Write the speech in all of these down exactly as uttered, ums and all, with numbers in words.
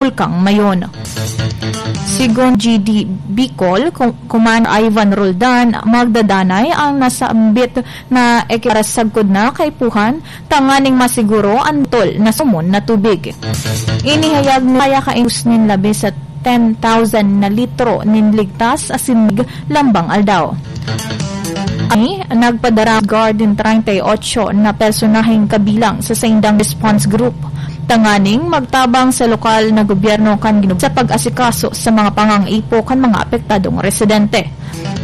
Bulkang Mayon. Sigon G D Bicol, Ku-, Commander Ivan Roldan, magdadanay ang nasambit na ekipara sagkod na kaipuhan tanganing masiguro an tol na sumon na tubig. Inihayag ni kaya kainus nin labi sa ten thousand na litro nin ligtas asin lambang aldaw. Ani, nagpadara guard nin treinta y ocho na personaheng kabilang sa saindang response group tanganing magtabang sa lokal na gobyerno kan ginub-, sa pag-asikaso sa mga pangangaipo kan mga apektadong residente.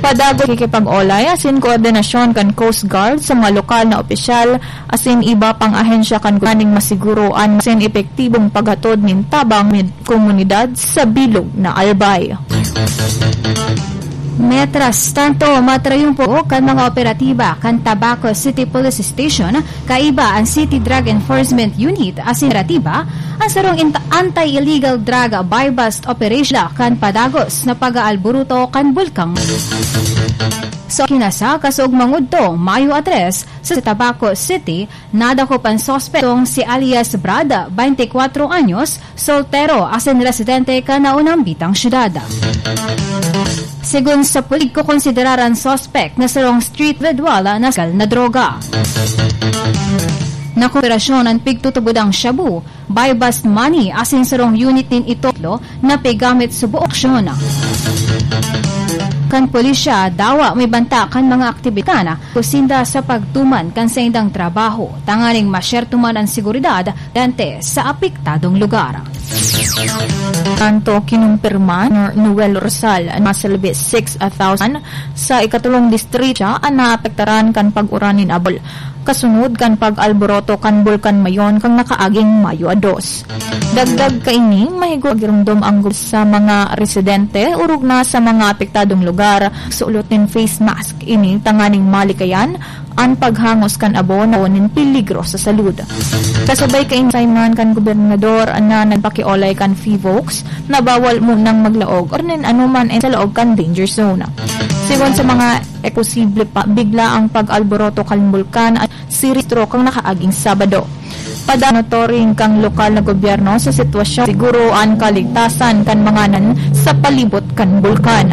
Padagos kikipag-olay asin koordinasyon kan Coast Guard sa mga lokal na opisyal asin iba pang ahensya kan gobyerno tanganing masiguro an mas epektibong paghatod nin tabang mid komunidad sa bilog na Albay. Mientras tanto, matrayumpo kan mga operatiba kan Tabaco City Police Station, kaiba an City Drug Enforcement Unit asin operatiba an sarong int-, anti-illegal drug buy-bust operation kan padagos na pag-aalburuto kan bulkang. So, kinasa, kasog mangudto, Mayo a tres, sa Tabaco City, nadakop an suspek, si alias Brad, twenty-four anyos, soltero, asin residente kan naunang bitang syudad. Segun sa pulis, kokonsiderar an suspek na sarong street individual na sakal na droga. Nakuperasyon an pigtutubodang shabu, buy-bust money, asin sarong unit nin itoklo na pigamit sa buong aksyon. Kan pulisya, dawa may banta kan mga aktibidad na kusinda sa pagtuman kan saindang trabaho, tanganing masyerto man an seguridad dente sa apektadong lugar. Tanto kinumpirma ni Noel Rosal na mas labi six thousand sa ikatulong distrito an naapektaran kan pag-uran nin abol, kasunod kan pag-alboroto kan Bulkan Mayon kan nakaaging Mayo a dos. Dagdag kaini, mahigugma giromdom ang gub-, sa mga residente, orog na sa mga apektadong lugar, suot nin face mask ini tanganing malikayan an paghangos kan abo na nin peligro sa salud. Kasabay kaini, sayman kan gobernador na nagpakiolay kan PHIVOLCS na bawal munang maglaog or nin anoman sa laog kan danger zone. Segun sa mga e posible pa, bigla ang pag-alboroto kan bulkan at siristro kan nakaaging Sabado. Padanotoring kan lokal na gobyerno sa sitwasyon, siguro an kaligtasan kan mga nan sa palibot kan bulkan.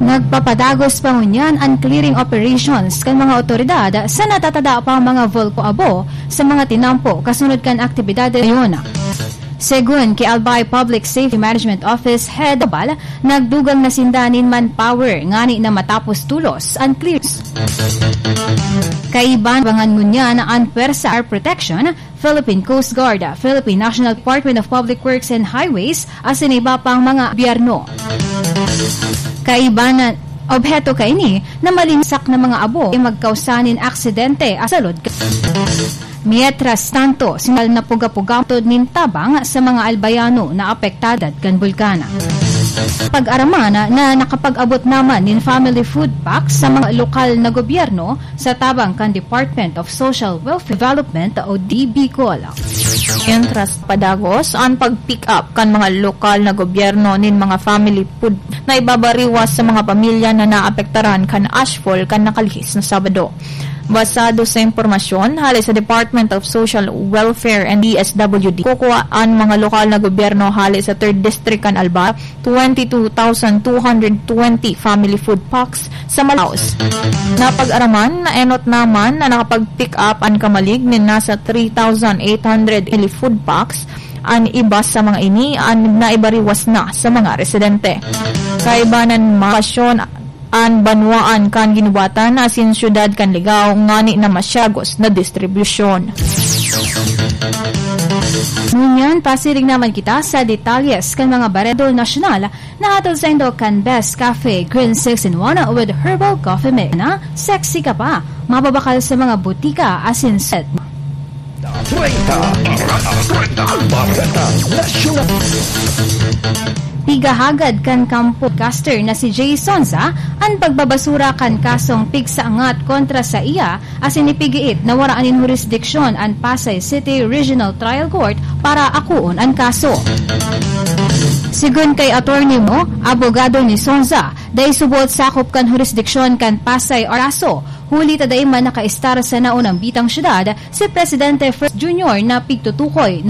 Nagpapadagos pa ngunyan an clearing operations kan mga otoridad sa natatada pang mga bulkang abo sa mga tinampo kasunod kan aktibidades ngayon. Segun ki Albay Public Safety Management Office Head Abal, nagdugang na sinda nin manpower ngani na matapos tolos an clearance. Kaiba, abangan ngunyan an Pwersa Fire Protection, Philippine Coast Guard, Philippine National Department of Public Works and Highways, asin iba pang mga gobyerno. Kaiba na obheto kaini na malinsak na mga abo ay magkausa nin aksidente sa salud. Mientras tanto, sinal na puga-puga matod nin tabang sa mga Albayano na apektado kan bulkan. Pag-araman na nakapag-abot naman nin family food packs sa mga lokal na gobyerno sa tabang kan Department of Social Welfare Development o D Bicol. Mientras padagos an pag-pick up kan mga lokal na gobyerno nin mga family food na ibabariwas sa mga pamilya na naapektaran kan ashfall kan nakalihis na Sabado. Basado sa impormasyon hale sa Department of Social Welfare and D S W D, kukua an mga lokal na gobyerno hale sa Third District kan Albay, twenty-two thousand two hundred twenty family food packs sa Manaus. Napag-araman na enot naman na nakapag-pick up an kamalig nin nasa three thousand eight hundred food packs. An iba sa mga ini an naibariwas na sa mga residente. Kaibanan, mapasyon an banwaan kan Guinobatan asin siyudad kan Ligao ngani na masyagos na distribusyon. Ngunyan, pasiring naman kita sa detalyes kan mga bareta nasyonal na hatod saindo kan Best Cafe Green six in one with Herbal Coffee Mix na Sexy Ka Pa, mababakal sa mga butika asin set. Treinta, Treinta, Bareta Nasyonal. Pigahagad kan kampo podcaster na si Jay Sonza an pagbabasura kan kasong pigsaangat kontra saiya asin ipigiit na wara nin hurisdiksyon an Pasay City Regional Trial Court para akoon an kaso. Segun kay Attorney Mo, abogado ni Sonza, dai subot sakop kan hurisdiksyon kan Pasay an kaso, huli ta dai man nakaistar sa naunang bitang syudad si Presidente First Junior na pigtutukoy na